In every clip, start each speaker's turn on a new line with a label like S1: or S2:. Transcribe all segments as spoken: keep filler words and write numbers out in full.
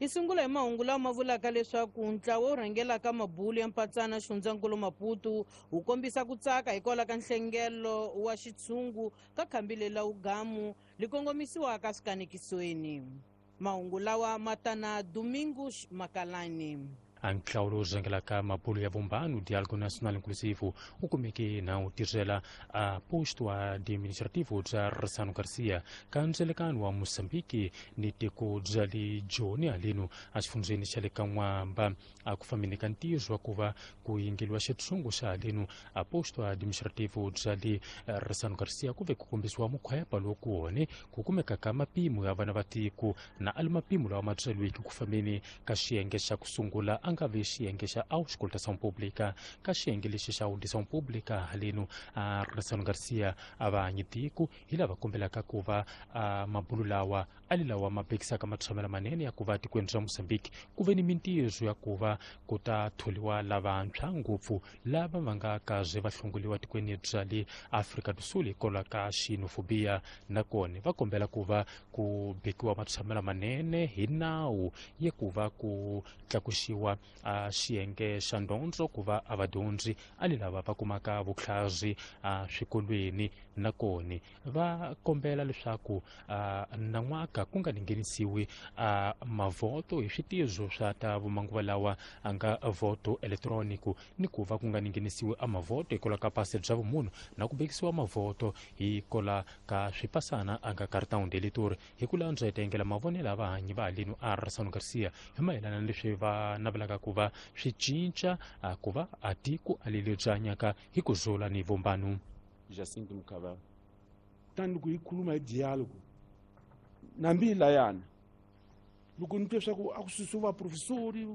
S1: Hi sungula hi mahungu lawa ma vulaka leswaku ntlawa wu rhangelaka mabulu ya mpatsana xifundzankulu Maputo wu kombisa ku tsaka hikwalaho ka nhlengelo wa xitshungu ka khambi lela ugamu li kongomisiwaka swikanekisweni. Mahungu lawa ma tana Domingos Makalani.
S2: Ntlawa lowu rhangelaka mabulu ya vumbano Diálogo Nacional Inclusivo wu kumeke na wu tirhela a posto administrativo bya Ressano Garcia ka ndzelekano wa Mozambique ni tiko bya le Joni haleno exifundzheni xa le ka N'wamba. A ku fambeni ka ntirho wa ku va ku yingeliwa xitshungu xa haleno a posto administrativo bya le Ressano Garcia ku ve ku kombisiwa mukhwepa lowu ku wone ku kumeka ka mapimo ya vana va tiko na ali mapimo lawa ma byeriweke ku fambeni ka xiyenge xa ku sungula a nga ve xiyenge xa auscultação pública. Ka xiyenge lexi xa audição pública haleno a Ressano Garcia a va hanyi tiko hi lava kombelaka ku va a mabulu lawa ali lawa ma bekisaka matshamelo manene ya ku va tikweni ra Mozambique ku ve ni mintirho ya ku va ku ta tholiwa lavantshwa ngopfu lava va nga kaze va hlongoliwa tikweni bya le Afrika do Sul hikwalaho ka xenofobia. Nakona va kombela ku va ku bekiwa matshamelo manene hi nawu ya ku va ku tlakuxiwa a xiyenge xa ndondzo ku va a vadyondzi ali lava va kumaka vutlhari a swikolweni. Nakona va kombela leswaku nan'waka ku nga nghenisiwi a mavoto hi switizo swa ta vumanguva lawa a nga voto elektroniko ni ku va ku nga nghenisiwi a mavoto hikwalaho ka pasi bya vumunhu na ku bekisiwa mavoto hikwalaho ka swipasana a nga cartão de eleitor. Hi ku landza hi tengela mavonelo ya vahanyi va haleno a Ressano Garcia hi mayelana na leswi va navelaka ku va swi cinca ku va a tiko a leli byi hanyaka hi ku zula ni vumbano.
S3: Jacinto Mukabela tani loko hi khuluma hi diálogo nambi layana loko ni twe swa ku a ku susiwa vaprofesori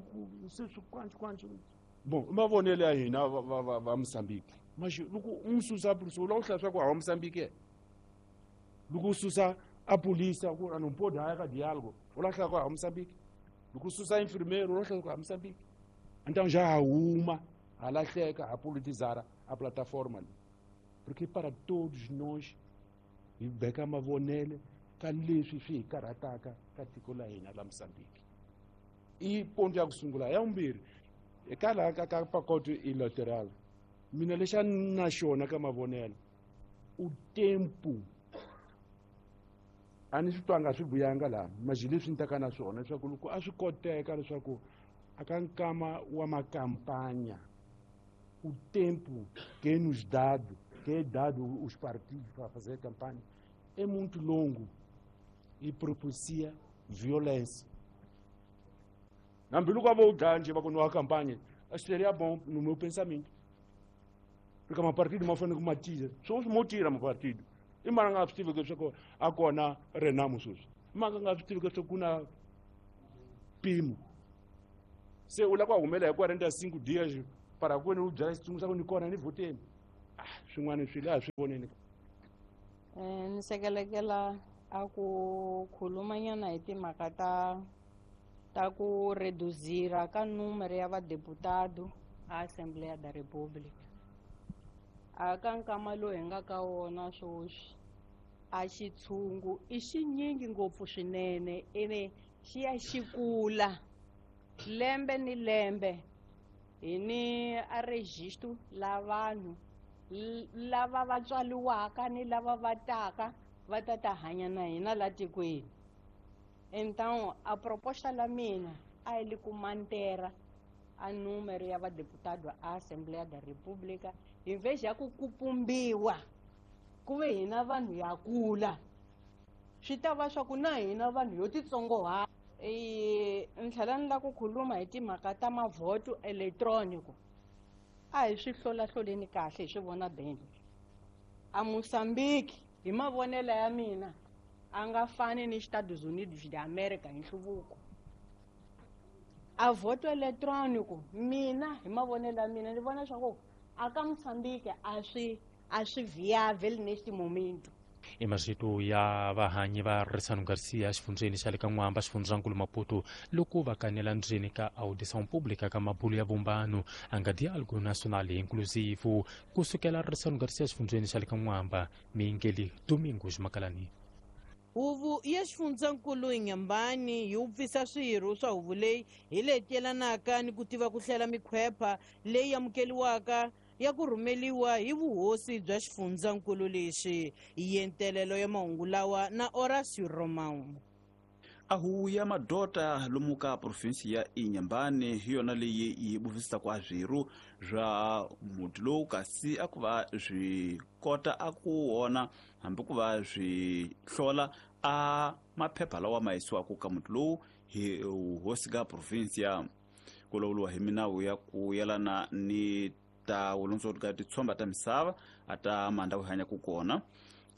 S3: se swi kwanci kwanci bon i mavonelo ya hina va va va va Mozambique maxi loko u n'wi susa professor u lava ku hlaya swa ku hawa Mozambique loko u susa a polisa ku a não pode haya ka diálogo u lava ku hlaya ku hawa Mozambique loko u susa enfermeiro u lava ku hlaya ku hawa Mozambique. Então já ha huma ha lahleka ha politizara a plataforma leyi porque para todos nós hi beka mavonelo ka leswi swi hi karhataka ka tiko la hina la Mozambique. I ponto ya ku sungula. Ya vumbirhi eka laha ka ka pacote eleitoral mina lexi a ni na xona ka mavonelo u tempo a ni swi twanga swi vuyanga laha mas leswi ni taka na swona leswaku loko a swi koteka leswaku a ka nkama wa makampanya o tempo que é nos dado, que é dado os partidos para fazer campanha, é muito longo e propicia violência. Hambi loko a vo dlaya njhe va ku nwa campanha, seria bom no meu pensamento. Porque mapartido ma fanele ku ma tira. Sweswi mo tira mapartido. I mara nga swi tivi leswaku a kona Renamo sweswi. I mara nga swi tivi leswaku ku na Pimo. Se u lava ku humela hi quarenta e cinco dias para ku wena u byala xitsundzuxo xa ku ni kona ni vhoteni. Ah, swin'wana swi laha swi voneni.
S4: Eh, ni sekelekela a ku khulumanyana hi timhaka ta ta ku reduzira ka número ya vadeputado a Assembleia da República. A ka nkama lowu hi nga ka wona sweswi a xitshungu i xinyingi ngopfu swinene ene xi ya xi kula lembe ni lembe. Hi ni a registro la vanhu lava va tswaliwaka ni lava va taka va ta ta hanya na hina la tikweni. Então a proposta la mina a yi li ku mantera a número ya vadeputado a Assembleia da República hi vez ya ku kupumbiwa ku ve hina vanhu ya kula swi ta va swa ku na hina vanhu yo titsongohata. E ni tlhela ni lava ku khuluma hi timhaka ta mavhoto elektroniko. A hi swi hlolahloleni kahle hi swi vona benge. A Mozambique hi mavonelo ya mina a nga fani ni Estados Unidos de America hi nhluvuko. A voto eletrônico mina hi mavonelo ya mina ni vona leswaku a ka Mozambique a swi a swi viável neste momento.
S2: I mazito ya vahanyi va Ressano Garcia xifundzheni xa le ka N'wamba xifundzankulu Maputo loko va kanela ndzeni ka audição pública ka mabulu ya vumbano a nga Diálogo Nacional Inclusivo kusukela Ressano Garcia xifundzheni xa le ka N'wamba Mingeli Domingos Makalani.
S1: Huvo ya xifundzankulu Inhambane yi wupfisa swirho swa huvo leyi hi leti yelanaka ni ku tiva ku hlela mikhwepha leyi amukeliwaka ya ku rhumeliwa hi vuhosi bya xifundzankulu lexi. Yentelelo ya mahungu lawa na Horacio Romão.
S5: A huvo ya madota lomu ka provinsi ya Inhambane hi yona leyi yi buvisaka a swirho swa muti lowu, kasi a ku va swi kota a ku wona hambi ku va swi hlola a maphepha lawa ma yisiwaka ka muti lowu hi hosi ka provinsia. Ku lawuriwa hi minawu ya ku yelana ni ta vulondzoti ka titshomba ta misava a ta mandhawu hi hanyaka kona.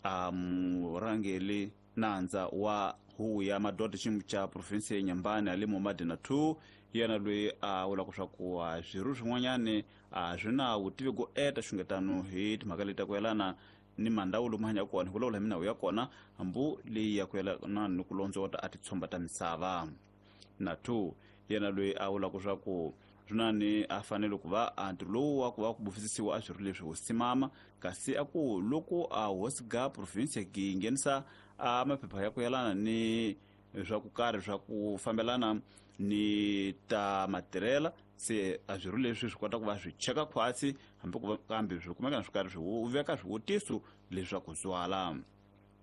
S5: A murhangeli nandza wa huvo ya madoda xiyimo xa provinsi ya Inhambane Ali Momadi Nathu yena loyi a vulaka swa ku swirho swin'wanyani a swi na vutivi go eta xungetano hi timhaka leti ta ku yelana ni mandhawu lomu hanyaka kona hi ku lawula hi minawu ya kona hambu leyi ya ku yelana ni ku londzota a titshomba ta misava. Nathu yena loyi a vulaka swa ku swinani a fanele ku va a ntirho lowu wa ku va ku bufisisiwa a swirho leswi hosi mama, kasi a ku loko a hosi ga provinsi yi nghenisa a maphepha ya ku yelana ni swa ku karhi swa ku fambelana ni ta matirhela, se a swirho leswi swi kota ku va swi cheka khwatsi hambi ku va kambe swi kumeka swi karhi swi veka swivutiso leswaku zwala.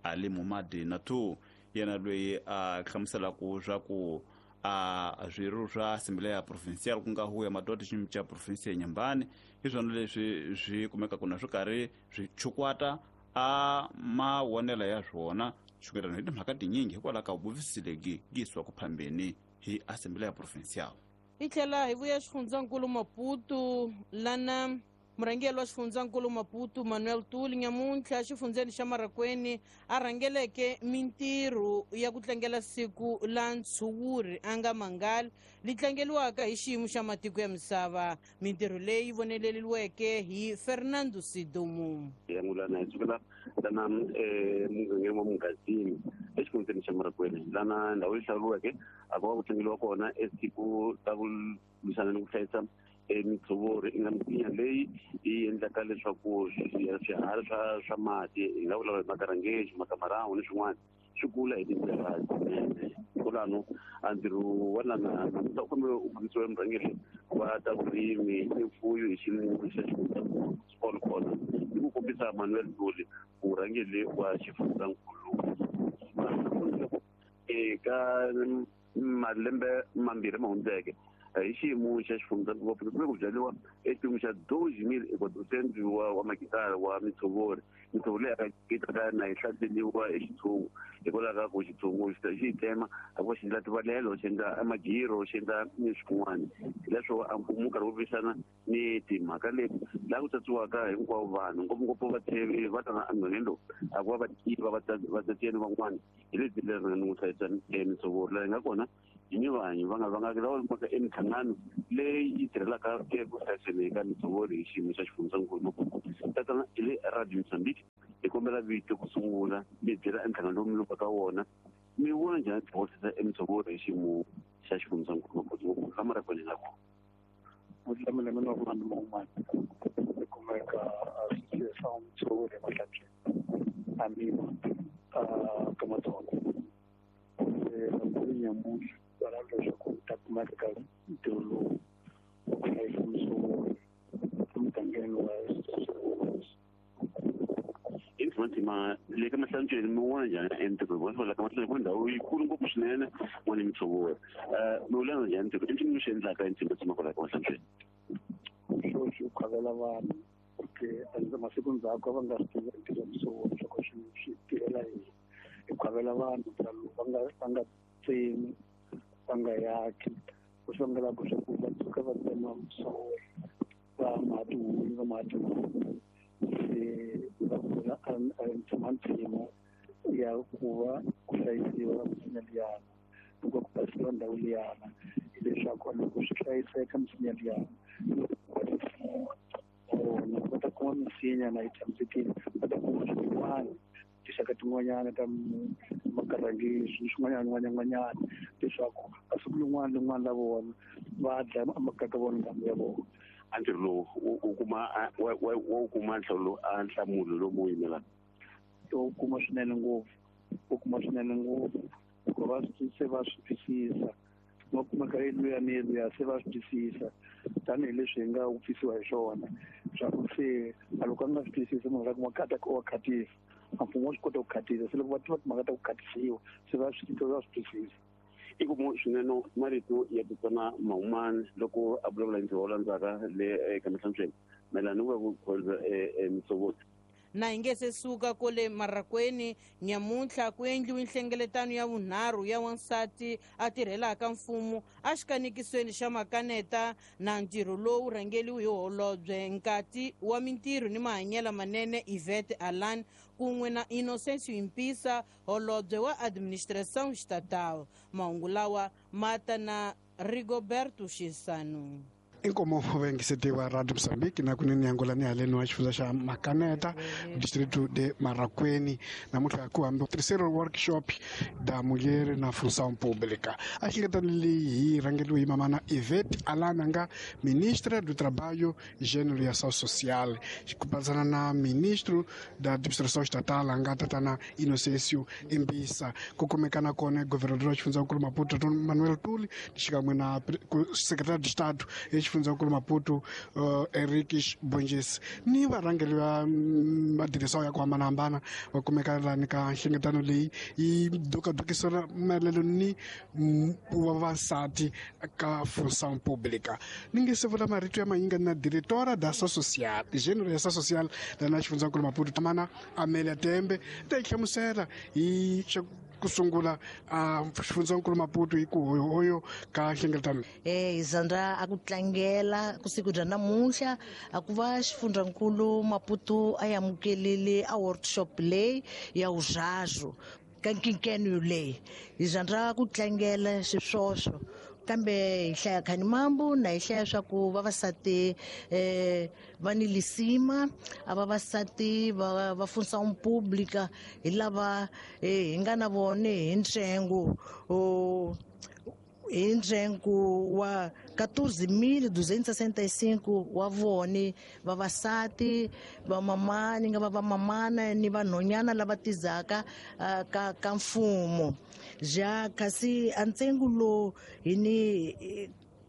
S5: Ali Momadi Nathu yena loyi a hlamuselaka swa ku a swirho swa Assembleia Provincial ku nga huvo ya madoda xiyimo xa provinsi ya Inhambane hi swona leswi swi kumekaka na swi karhi swi chukwata a mawonelo ya swona xungetano hi timhaka tinyingi hikwalaho ka vuvisi lebyi yisiwaka phambeni hi Assembleia Provincial.
S1: Hi tlhela hi vuya xifundzankulu Maputo lana murhangeri wa xifundzankulu Maputo Manuel Tuli nyamuntlha xifundzeni xa Marracuene a rhangeleke mintirho ya ku tlangela siku la ntshuri a nga mangali li tlangeliwaka hi xiyimo xa matiko ya misava. Mintirho leyi voneleriweke hi Fernando Sidumo.
S6: Yangulana hi sukela lana mugangeni wa Mungazini exifundzeni xa Marracuene lana ndhawu leyi hlawuriweke a ku va ku tlangeliwa kona esiku ta ku lwisana ni ku hlayisa mitshovori i nga misinya leyi yi endlaka leswaku swiharhi swa swa mati hi nga vulavula hi makarangeji makamarhawu ni swin'wana swi kula hi tindlela tinene. Kwalano a ntirho wa lana namuntlha u kombela u fambisiwa murhangeri wa ta vurimi ni mfuyo hi xiyimo xa xifundzankulu Paul Kona ni ku kombisa Manuel Tuli murhangeri wa xifundzankulu eka malembe mambirhi ma hundzeke hi xiyimo xa xifundzankulu kumbe ku byariwa exipimo xa doze mil equatrocento wa wa makitara wa mitshovori. Mitshovo leyi yi ta na yi hlaseriwa hi xitshungu hikwalaho ka ku xitshungu xi yi tsema a ku xi endla tivalelo xi endla magiro xi endla ni swin'wana. Hileswo a mfumo wu karhi wu lwisana ni timhaka leti laha ku tsatsiwaka hinkwavo vanhu ngopfungopfu vatshevi va tana emugangeni lowu a ku va va tiva vatsatiyeni van'wana hi leti leri ni ku hlayisa mitshovori laha yi nga kona hi ni vanhu va nga va nga lava maka emihlangano leyi yi tirhelaka eku hlayiseni ka mitshovori hi xiyimo xa xifundzankulu Maputo. Tatana hi le Radio Mozambique hi kombela vito ku sungula mi byela emhlangano lowu mi lupaka wona mi vona njhani tihosi emitshovori hi xiyimo xa xifundzankulu Maputo ngopfu la Marracuene nga kona.
S7: Mutlamela mina wa vanhu van'wana hi kumeka associação mitshovori emahlantsweni amima ka Matsonga nyamuntlha va lava leswaku ta kumeka ka ntirho lowu wa ku hlayisa mitshovori emugangeni wa
S6: Intima le ka mahlantsweni mi vona njhani entirho wa la ka mahlantsweni ku ndhawu yikulu ngopfu swinene n'wana mitshovori mi vula njhani ntirho i ncini mi swi endlaka ntima tshama kwala ka mahlantsweni?
S7: Xo xi khavela vanhu porque masiku ndzhaku a va nga swi tivi ntirho wa mitshovori leswaku swi swi tirhela yini. Hi khavela vanhu va nga va nga tsemi va nga yaki ku swi vangelaka swa ku va tshuka va tsema mitshovori va ma tihunyi va ma timhangu se va pfula ntshimantshimu ya ku va ku hlayisiwa misinya liyana loko ku basisiwa ndhawu liyana hileswaku loko swi hlayiseka misinya liyana vona va ta kuma misinya na yi tshamisekile va ta kuma swin'wana tinxaka tin'wanyana ta makarangisi ni swin'wanyana n'wanyana leswaku masiku lin'wana lin'wana la vona va dlaya amakaka vona ndhawu ya vona.
S6: A ntirho lowu u kuma wa wu kuma nhlawulo a nhlamulo lomu wu yimelaka
S7: u kuma swinene ngopfu U kuma swinene ngopfu hikuva va se va swi twisisa va kumeka luya ni luya se va swi twisisa tanihileswi hi nga wupfisiwa hi swona swa ku se a loko a nga swi twisisi munhu la kuma khata wa khatisa a mfumo wa swi kota ku khatisa se loko va tiva timhaka ta ku khatisiwa se va swi va swi twisisa.
S6: I ku swinene marito ya Tatana Mahumani loko a vulavula hi ntirho wo landzaka le eka mihlantsweni mayelana ni ku va ku khorwisa Mtsoboti.
S1: Na hi nge se suka kole Marraqueni nyamuntlha ku endliwe nhlengeletano ya vunharhu ya wansati a tirhelaka mfumo a xikanikisweni xa makaneta na ntirho lowu rhangeliwe hi holobye nkati wa mintirho ni mahanyelo manene Yvette Alan kun'we na Innocencio Impisa holobye wa administração estatal. Mahungu lawa ma ta na Rigoberto Xisano.
S8: Inkomo vengisetiwa Radio Mozambique na kunene Angola ni haleni wa xifundza xa Makaneta distrito de Marraqueni namuntlha ku hambi terceiro workshop da mulher na função pública. A hlengeletano leyi hi rhangeliwe hi mamana Yvette Alana nga ministra do Trabalho, Gênero e Ação Social, ku patsana na ministro da Administração Estatal nga tatana Inocêncio Imbisa. Ku kumeka na kona governador wa xifundzankulu Maputo Manuel Tuli xikan'we na secretário de Estado xifundzankulu Maputo uh, Henriques Bonges ni varhangeri va madirisa ya ku hambanahambana va kumeka lani ka nhlengeletano leyi yi dukadukisana mayelano ni vavasati ka função pública. Ni nge se vula marito ya mayinga na diretora da ação social gênero ya ação social lana xifundzankulu Maputo Tamana Amélia Tembe ta yi hlamusela hi ku sungula a xifundzankulu Maputo hi ku hoyo ka nhlengeletano.
S9: Eh Zandra a ku tlangela ku siku bya namuntlha a ku va xifundzankulu Maputo a amukelile a workshop leyi ya uzhazo ka nkinkeno leyi hi Zandra ku tlangela xiswoswo kambe hi hlaya Khanimambu na hi hlaya swa ku vavasati eh va ni lisima a vavasati va va função pública hi lava hi nga na vone hi ntsengo hi ntsengo wa quatorze mil duzentos e sessenta e cinco wa vone vavasati vamamani nga va vamamana ni vanhonyana lava tizaka ka ka mfumo ja kasi a ntsengo lowu hi ni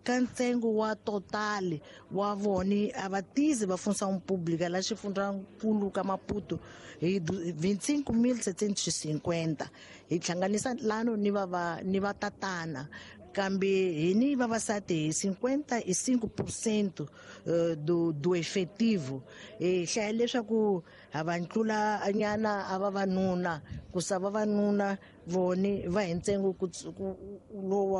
S9: ka ntsengo wa total wa vone a va tizi va função pública la xifundzankulu ka Maputo hi vinte e cinco mil setecentos e cinquenta hi hlanganisa lano ni va ni va tatana kambe hi ni vavasati hi cinquenta e cinco por cento do do efetivo hi hlaya leswaku ha va ntlula nyana a vavanuna ku sa vavanuna vone va hi ntsengo lowu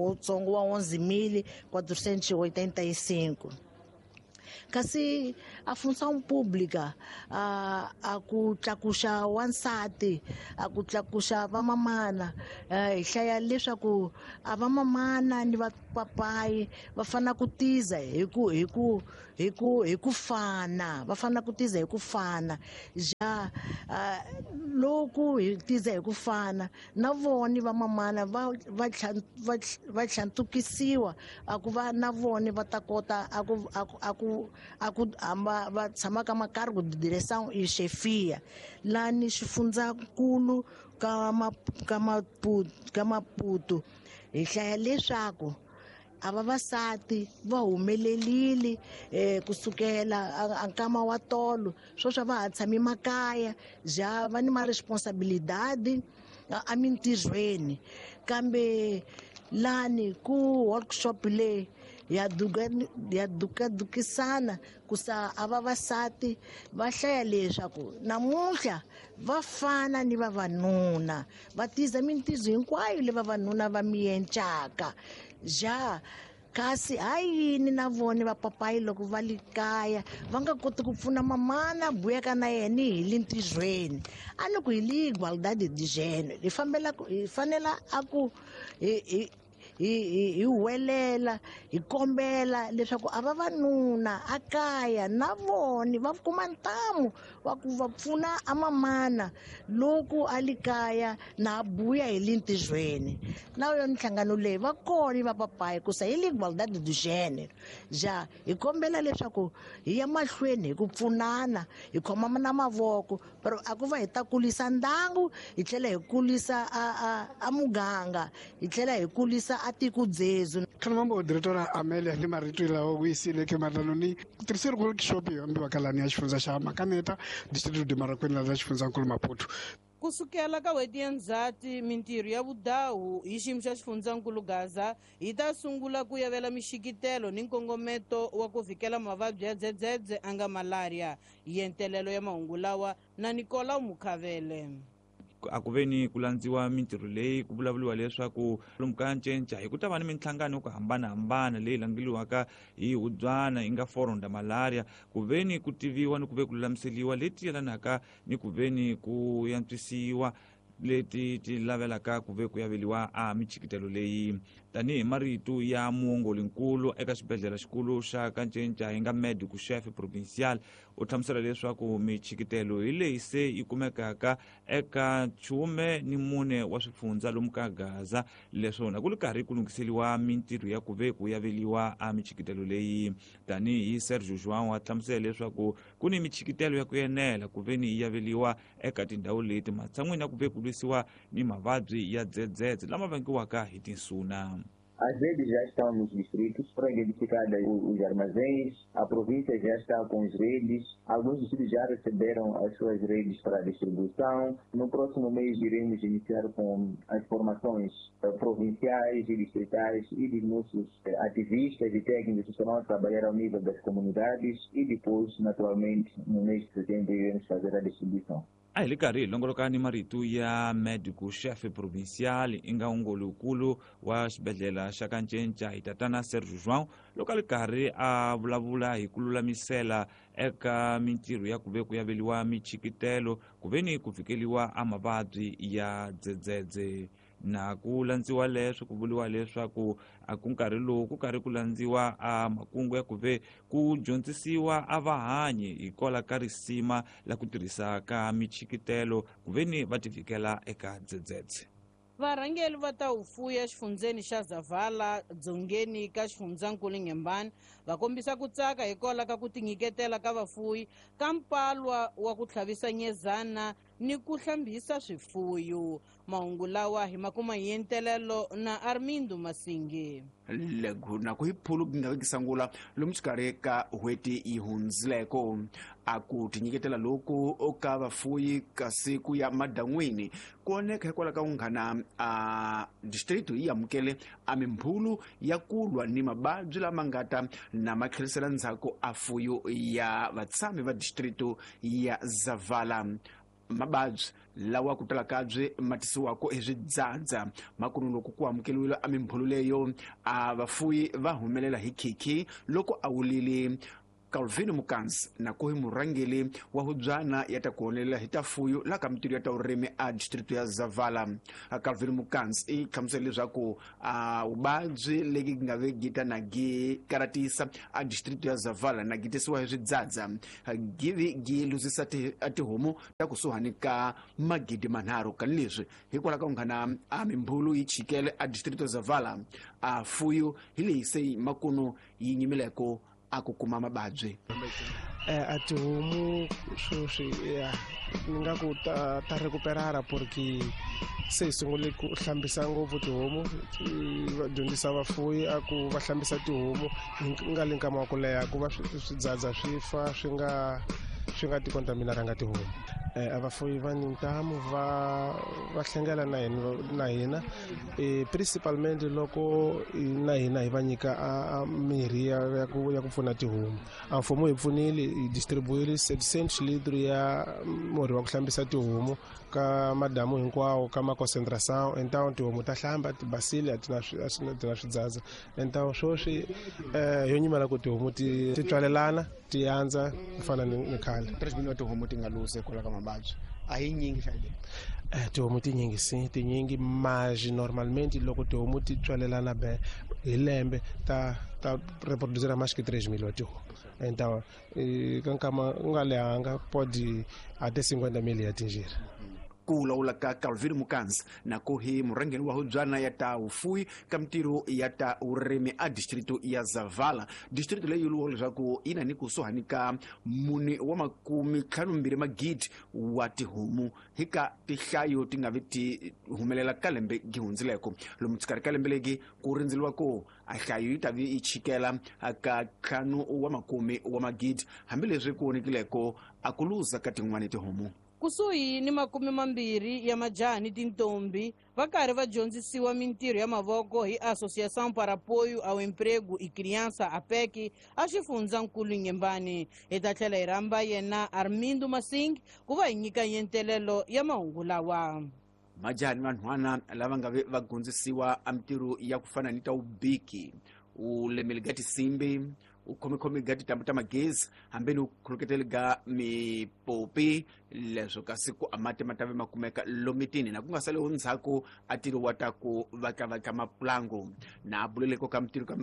S9: wutsongo wa onze mil quatrocentos e oitenta e cinco. Kasi a função pública a a ku tlakuxa wansati a ku tlakuxa vamamana hi hlaya leswaku a vamamana ni vapapayi va fanele ku tiza hi ku hi ku hi ku hi ku fana va fanele ku tiza hi ku fana ja loko hi tiza hi ku fana na vona vamamana va va va tlhantukisiwa a ku va na vona va ta kota a ku a ku a ku hamba va tshama ka macargo de direção e chefia lani xifundzankulu ka ka Maputo ka Maputo hi hlaya leswaku a vavasati va humelelile eh kusukela a nkama wa tolo sweswi va ha tshami makaya ja va ni ma responsabilidade a mintirhweni kambe lani ku workshop leyi ya duka ya dukadukisana ku sa a vavasati va hlaya leswaku namuntlha va fana ni vavanuna va tiza mintirho hinkwayo leyi vavanuna va miencaka ja kasi ha yini na vona vapapayi loko va le kaya va nga koti ku pfuna mamana buyaka na yena hi le ntirhweni a ni ku hi le igualdade de gênero hi fambela hi fanela a ku hi hi hi hi huwelela hi kombela leswaku a vavanuna a kaya na vona va kuma ntamu wa ku va pfuna a mamana loko a li kaya na buya hi lintizweni na yo nhlangano leyi va kona va papayi ku sa hi igualdade do gênero ja hi kombela leswaku hi ya mahlweni hi ku pfunana hi khoma na mavoko pero a ku va hi ta kulisa ndangu hi tlhela hi kulisa a a a muganga hi tlhela hi kulisa a tiko dzezu.
S8: Khalamambo diretora Amelia ni marito lawa ku yisile ke malaloni terceiro workshop yo ambiwa kalani ya xifundza xa Makaneta distrito de Marracuene la xifundzankulu Maputo.
S1: Kusukela ka n'hweti ya Ndzhati mintirho ya vudahu hi xiyimo xa xifundzankulu Gaza yi ta sungula ku yavela mixikitelo ni nkongometo wa ku vhikela mavabyi ya dzedzedze a nga malaria. Yentelelo ya mahungu lawa na Nicolau Mukhavele.
S10: A ku ve ni ku landziwa mintirho leyi ku vulavuriwa leswaku lomu ka ncenca hi ku ta va ni minhlangano yo ku hambanahambana leyi langeliwaka hi hubyana yi nga forum da malaria ku ve ni ku tiviwa ni ku ve ku lulamiseliwa leti yelanaka ni ku ve ni ku yantswisiwa leti ti lavelaka ku ve ku yaveliwa a michikitelo leyi. Tanihi marito ya muongolinkulu eka xibedhlele xikulu xa Kancenca hi nga medico chef provincial u hlamusela leswaku michikitelo hi leyi se yi kumekaka eka chume ni mune wa swifundza lomu ka Gaza leswona ku ri karhi ku lunghiseliwa mintirho ya ku ve ku yaveliwa a michikitelo leyi. Tanihi Sergio João wa hlamusela leswaku ku ni michikitelo ya ku enela ku ve ni yi yaveliwa eka tindhawu leti matshan'wini ya ku ve ku lwisiwa ni mavabyi ya dzedzedze lama vangiwaka hi tinsuna.
S11: As redes já estão nos distritos, foram identificadas os armazéns, a província já está com as redes, alguns distritos já receberam as suas redes para distribuição. No próximo mês iremos iniciar com as formações provinciais e distritais e dos nossos ativistas e técnicos que estarão a trabalhar ao nível das comunidades e depois, naturalmente, no mês de setembro iremos fazer a distribuição.
S10: A hi le karhi hi longoloka ni marito ya medico chef provincial i nga ungolukulu wa xibedhlele xa Kancenca hi tatana Sergio João loko a li karhi a vulavula hi ku lulamisela eka mintirho ya ku ve ku yaveliwa michikitelo ku ve ni ku fikeliwa a mavabyi ya dzedzedze. Na ku landziwa leswi ku vuriwa leswaku a ku nkarhi lowu ku karhi ku landziwa a makungu ya ku ve ku dyondzisiwa a vahanyi hikwalaho ka risima la ku tirhisa ka michikitelo ku ve ni va tivikela eka dzedzedze.
S1: Varhangeri va ta hufuya xifundzeni xa Zavala dzongeni ka xifundzankulu Inhambane va kombisa ku tsaka hikwalaho ka ku tinyiketela ka vafuyi ka mpalwa wa ku tlhavisa nyezana ni ku hlambisa swifuyo. Mahungu lawa hi makuma hi yentelelo na Armindo Masingi.
S12: Lego na ku hi phulu nga vekisangula lomu xikarhi ka n'hweti yi hundzileko a ku tinyiketela loku ka vafuyi ka siku ya madan'wini ku oneka hikwalaho ka vunghana a distrito yi amukele a mimbhulu ya ku lwa ni mavabyi lama nga ta na ma tlherisela ndzhaku a fuyo ya vatshami va distrito ya Zavala. Mavabyi lawa ku tala kabye ma tisiwaka hi swidzadza makunu loko ku amukeliwile a mimbhulu leyo a vafuyi va humelela hi khikhi loko a wulile Calvin Mukansi na ku hi murhangeri wa hubyana ya ta ku honelela hi ta fuyo la ka mintirho ya ta vurimi a distrito ya Zavala. Calvin Mukansi i hlamusela leswaku a vuvabyi legi nga ve gita na gi karatisa a distrito ya Zavala na gi tisiwa hi swidzadza givi gi luzisa a tihomu ta kusuhani ka magidi manharhu ka leswi hikwalaho ka vunghana a mimbhulu yi chikele a distrito ya Zavala a fuyo hi leyi se makunu yi nyimileko a ku kuma mavabyi.
S13: Eh a tihomu sweswi ya ni nga ku ta ta recuperara porque se hi sungule ku hlambisa ngopfu tihomu va dyondzisa vafuyi a ku va hlambisa tihomu hi nga le nkama wa ku leha ku va swidzadza swi fa swi nga swi nga ti contaminaranga tihomu. Eh a vafuyi va ni ntamu va va hlengela na hina na hina eh principalmente loko na hina hi va nyika a mirhi ya ku ya ku pfuna tihomu. A mfumo hi pfunile hi distribuile seven liters ya murhi wa ku hlambisa tihomu ka madamu hinkwawo ka ma concentration entawu tihomu ta hlamba ti basile a ti na ti na swidzadza entawu sweswi eh yo nyimela ku tihomu ti ti tswalelana ti andza ku fana ni ni khale.
S12: Tres mil wa tihomu ti nga luze hikwalaho ka mavabyi
S14: A hi nyingi xa leyi.
S13: Eh, tihomu tinyingi sim, tinyingi, mas normalmente loko tihomu ti tswalelana be hi lembe ta ta reproduzir mais que três mil tihomu. Então, ka nkama u nga lehanga pode até cinquenta mil ya atingir.
S12: Ku lawula ka Calvin Mukanzi na ku hi murhangeri wa hubyana ya ta vufuwi ka mintirho ya ta vurimi a distrito ya Zavala. Distrito leyi yi leswaku yi na ni kusuhani ka mune wa makume ntlhanu mbirhi magidi wa tihomu hi ka tihlayo ti nga vi ti humelela ka lembe gi hundzileko. Lomu xikarhi ka lembe legi ku rindzeliwa ku a hlayo yi ta vi yi chikela ka ntlhanu wa makume wa magidi, hambileswi ku vonekileko a ku luza ka tin'wani tihomu.
S1: Kusuhi ni makume mambirhi ya majaha ni tintombi va karhi va dyondzisiwa mintirho ya mavoko hi Associação para Apoio ao Emprego e Criança, A P E C, a xifundzankulu Nyembani. Hi ta tlhela hi rhamba yena Armindo Masing ku va hi nyika yentelelo ya mahungu lawa.
S12: Majaha ni vanhwana lava nga ve va dyondzisiwa a mintirho ya ku fana ni ta vubiki, u lemeli ga tinsimbi, u khomekhomi ga tintambu ta magezi, hambi ni u khuluketeli ga mipopi. Leswo kasi ku a mati ma ta ve ma kumeka lomitini na ku nga saliho ndzhaku a tirho wa ta ku vatlavatla mapulangu. Na a buleleko ka mintirho ka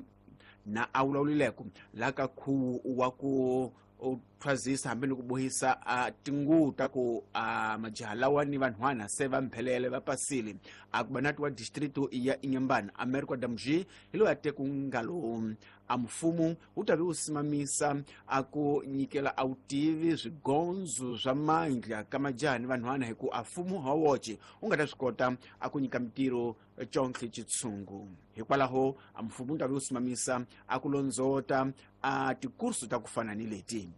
S12: na a vulavulileko laha ka khuwu wa ku u thwazisa hambi ni ku bohisa a tinguvu ta ku a majaha lawa ni vanhwana se va mphelele va pasile. A ku banati wa distrito ya Inhambane America Damji hi loyi a te ku ngalo a mfumo wu ta vi wu simamisa a ku nyikela a vutivi swigondzo swa mandla ka majaha ni vanhwana, hi ku a mfumo ha woxe wu nga ta swi kota a ku nyika mintirho contlhe xitshungu. Hikwalaho a mfumo wu ta vi wu simamisa a ku londzota a tikursu ta ku fana ni leti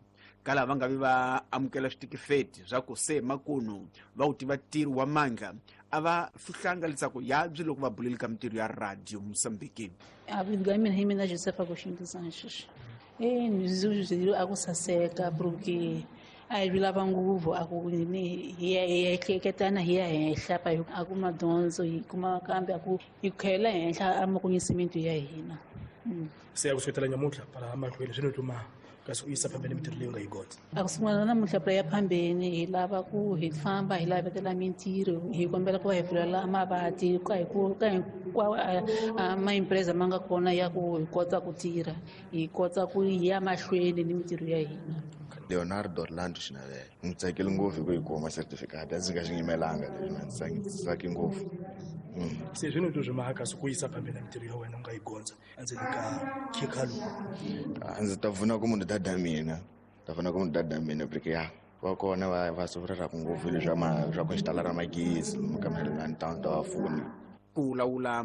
S12: ka lava nga vi va amukela switifiketi swa ku se makunu va wu tiva ntirho wa mandla. A va fihlanga leswaku yabyi loko va buleli ka mintirho ya Radio Mosambiki.
S15: A mina hi mina Josefa Agostinho dos Anjos. E ni a ku saseka porque a hi lava nguvu a ku ni hi ya hi ehleketana hi ya henhla pa a ku madyondzo hi kuma kambe a ku hi khela henhla a makunyisa ya hina.
S16: Se ya ku suketela nyamuntlha pala mahlweni swi ni tuma kasi u yisa phambeni mintirho leyi u nga yi gondza.
S15: A ku sungula namuntlha pula ya phambeni hi lava ku hi famba hi lavetela mintirho, hi kombela ku va hi pfulela mavati ka hi ku ka hinkwawo a maempresa ma nga kona ya ku hi kota ku tirha, hi kota ku ya mahlweni ni mintirho ya hina.
S17: Leonardo Orlando Xinavela. Ndzi tsakile ngopfu hi ku yi kuma certificate, a ndzi nga xi yimelanga leswi, ndzi tsake ngopfu.
S16: Se swi ni twa swi maka kasi ku yisa phambeni mintirho ya wena u nga yi gondza endzeni ka khikha lowu.
S17: A ndzi ta pfuna ku munhu dada mina, ta pfuna ku munhu dada mina porque ya va kona va va sufreraku ngopfu leswi swa swa ku xitala ra magezi lomu ka Mahelani town ta va pfuna.
S12: Ku lawula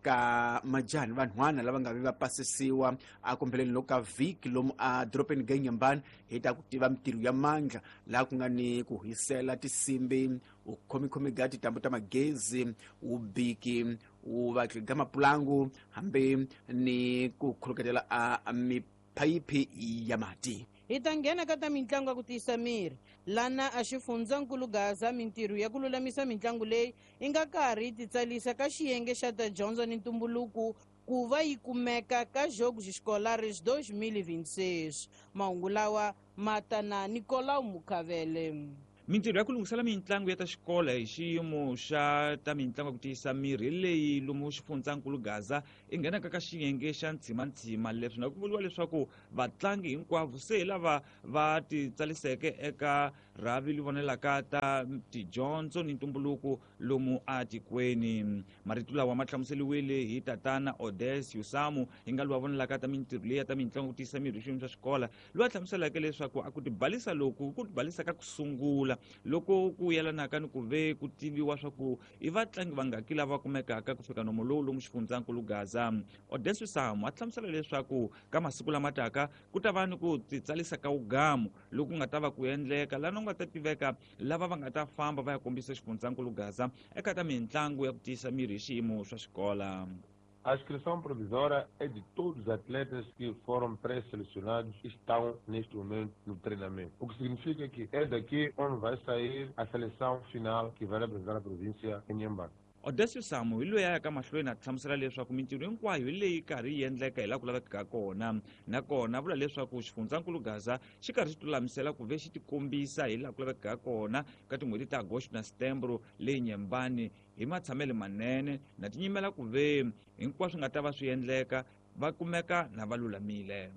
S12: ka majaha ni vanhwana lava nga vi va pasisiwa a kombeleni loko ka vhiki lomu a dorobeni ga Inhambane hi ta ku tiva mintirho ya mandla laha ku nga ni ku hisela tinsimbi, u khomikhomi ga tintambu ta magezi, vubiki, wu vatli ga mapulangu, hambi ni ku khuluketela a miphayiphi ya mati.
S1: Hi ta nghena ka ta mitlangu ya ku tiyisa miri lana a xifundzankulu Gaza. Mintirho ya ku lulamisa mitlangu leyi yi nga karhi yi titsalisa ka xiyenge xa ta dyondzo ni ntumbuluko ku va yi kumeka ka Jogos Escolares twenty twenty-six. Mahungu lawa ma ta na Nicolau Mukavele.
S10: Mintirho ya ku lunghisela mitlangu ya ta xikolo hi xiyimo xa ta mitlangu ya ku tiyisa miri leyi lomu xifundzankulu Gaza i nghenaka ka xiyenge xa ntsimantsima. Leswi na ku vuriwa leswaku vatlangi hinkwavo se hi lava va titsaliseke eka rhavi li vonelaka ta tidyondzo ni ntumbuluko lomu atikweni. Marito lawa ma hlamuseliwile hi tatana Odes Yusamu, hi nga lowa vonelaka ta mintirho leyi ya ta mitlangu ku tiyisa miri hi xiyimo xa xikola, loyi a hlamuseleke leswaku a ku tibalisa loku ku tibalisa ka ku sungula loko ku yelanaka ni ku ve ku tiviwa swa ku i vatlangi vangaki lava kumekaka ku fika nomo lowu lomu xifundzankulu Gaza. Odes Yusamu a hlamusela leswaku ka masiku lama taka ku ta va ni ku titsalisa ka wugamu loku nga ta va ku endleka lana ku nga ta tiveka lava va nga ta famba va ya kombisa xifundzankulu Gaza eka ta mitlangu ya ku tiyisa miri hi xiyimo swa xikola.
S18: A inscrição provisória é de todos os atletas que foram pré-selecionados e estão neste momento no treinamento. O que significa que é daqui onde vai sair a seleção final que vai representar a província em Inhambane.
S10: Odysseus Samu hi loyi a yaka mahlweni a hlamusela leswaku mintirho hinkwayo hi leyi karhi yi endleka hi laha ku lavekaka kona, nakona vula leswaku xifundzankulu Gaza xi karhi xi tilulamisela ku ve xi tikombisa hi laha ku lavekaka kona ka tin'hweti ta Agosto na Setembro leyi Nyembani hi matshamelo manene na tinyimela ku ve hinkwaswo nga ta va swi endleka va kumeka na va lulamile.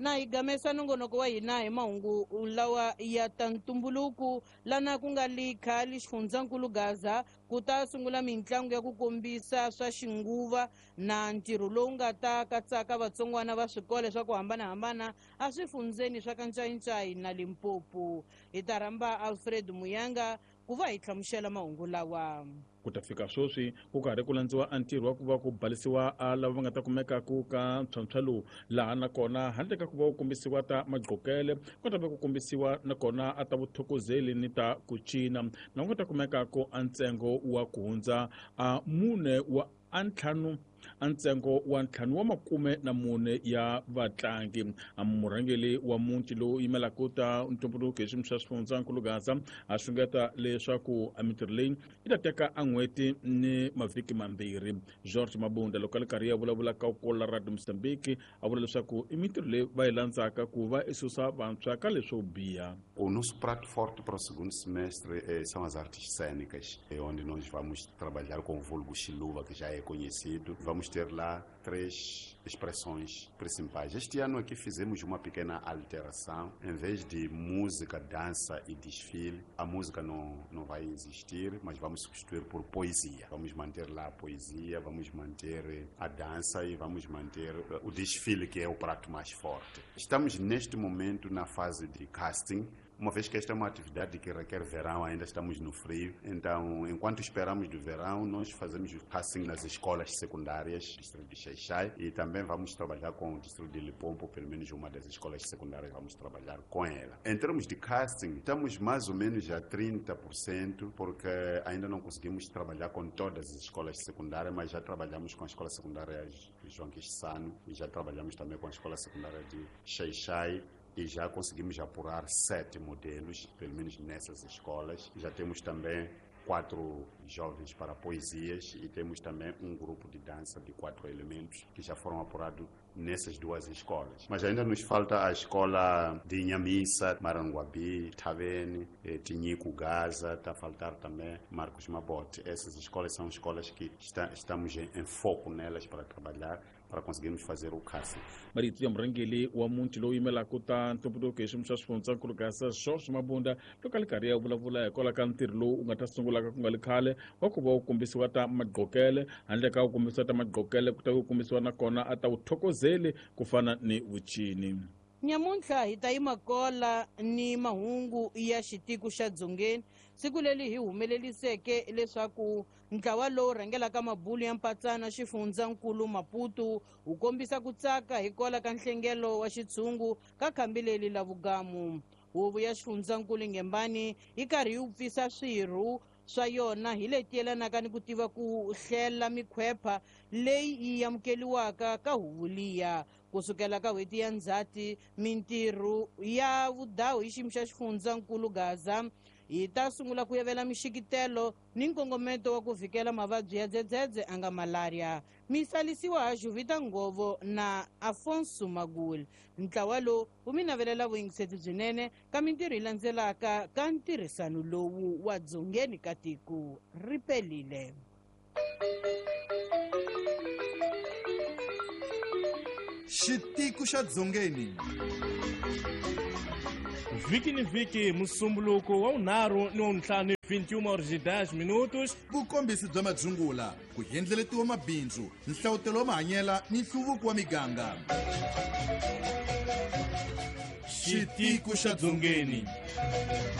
S1: Na hi gamesa nongonoko wa hina hi mahungu lawa ya ta ntumbuluko lana ku nga li khale xifundzankulu Gaza ku ta sungula mintlangu ya ku kombisa swa xinguva na ntirho lowu nga ta katsaka vatsongwana va swikolo swa ku hambanahambana a swifundzeni swa Kancayincayi na Limpopo. Hi ta rhamba Alfred Muyanga ku va hi hlamusela mahungu lawa.
S14: Ku ta fika sweswi ku karhi ku landziwa a ntirho wa ku va ku balisiwa a lava va nga ta kumeka ku ka ntlhontlho lowu, laha nakona handle ka ku va ku kombisiwa ta magqokele ku ta va ku kombisiwa nakona a ta vuthokozeli ni ta ku cina, na ku ta kumeka ku a ntsengo wa ku hundza a mune wa a ntlhanu a ntsengo wa ntlhanu wa makume na mune ya vatlangi. A murhangeri wa muti lowu yimelaka ta ntumbuluko hi xiyimo xa xifundzankulu Gaza a xungeta leswaku a mintirho leyi yi ta teka a n'hweti ni mavhiki mambirhi. George Mabunda loko a li karhi ya vulavula ka kola Radio Mozambique a vula leswaku i mintirho leyi va yi landzaka ku va i susa vantshwa ka leswo biha.
S19: O nosso prato forte para o segundo semestre eh, são as artes cênicas, onde nós vamos trabalhar com o vulgo Xiluva, que já é conhecido. Vamos ter lá três expressões principais. Este ano aqui fizemos uma pequena alteração. Em vez de música, dança e desfile, a música não, não vai existir, mas vamos substituir por poesia. Vamos manter lá a poesia, vamos manter a dança e vamos manter o desfile, que é o prato mais forte. Estamos neste momento na fase de casting, uma vez que esta é uma atividade que requer verão, ainda estamos no frio. Então, enquanto esperamos do verão, nós fazemos o casting nas escolas secundárias do distrito de Xai-Xai e também vamos trabalhar com o distrito de Limpopo, pelo menos uma das escolas secundárias vamos trabalhar com ela. Em termos de casting, estamos mais ou menos a trinta por cento, porque ainda não conseguimos trabalhar com todas as escolas secundárias, mas já trabalhamos com a escola secundária João Quixano e já trabalhamos também com a escola secundária de Xai-Xai. E já conseguimos apurar sete modelos, pelo menos nessas escolas. Já temos também quatro jovens para poesias e temos também um grupo de dança de quatro elementos que já foram apurados nessas duas escolas. Mas ainda nos falta a escola de Inhamissa, Maranguabi, Tavene, Tinhico, Gaza, está a faltar também Marcos Mabote. Essas escolas são escolas que está, estamos em, em foco nelas para trabalhar, para conseguirmos fazer o casting.
S14: Marito ya murhangeri wa muti lowu yimelaka ta ntumbuluko hi xiyimo xa xifundzankulu Gaza George Mabunda loko a li karhi ya vulavula hikwalaho ka ntirho lowu wu nga ta sungulaka ku nga li khale wa ku va wu kombisiwa ta magqokele, handle ka ku kombisiwa ta magqokele ku ta ku kombisiwa nakona a ta vuthokozeli ku fana ni vucini.
S1: Nyamuntlha hi ta yima kola ni mahungu ya xitiko xa Dzongeni, siku leri hi humeleliseke leswaku ntlawa lowu rhangelaka mabulu ya mpatsana xifundzankulu Maputo wu kombisa ku tsaka hikwalaho ka nhlengelo wa xitshungu ka khambi leri la vugamu. Huvo ya xifundzankulu Ngembani yi karhi yi pfisa swirho swa yona hi leti yelanaka ni ku tiva ku hlela mikhwepha leyi yi amukeliwaka ka huvo liya. Kusukela ka n'hweti ya Ndzhati, mintirho ya vudawu hi xiyimo xa xifundzankulu Gaza yi ta sungula ku yavela mixikitelo ni nkongometo wa ku vhikela mavabyi ya dzedzedze a nga malaria. Misalisiwa ha Juvita Ngovo na Afonso Magul. Ntlawa lowu wu mi navelela vuyingiseti byinene ka mintirho yi landzelaka ka ntirhisano lowu wa dzongeni ka tiko. Ri pelile.
S20: Xitiko xa Dzongeni.
S21: Vhiki ni vhiki musumbuluko wa vunharhu ni wa vuntlhanu vinte e uma horas e dez minutos.
S20: Vukombisi bya madzungula, ku endleletiwa mabindzu, nhlawutelo wa mahanyela ni nhluvuko wa miganga.
S21: Xitiko xa Dzongeni.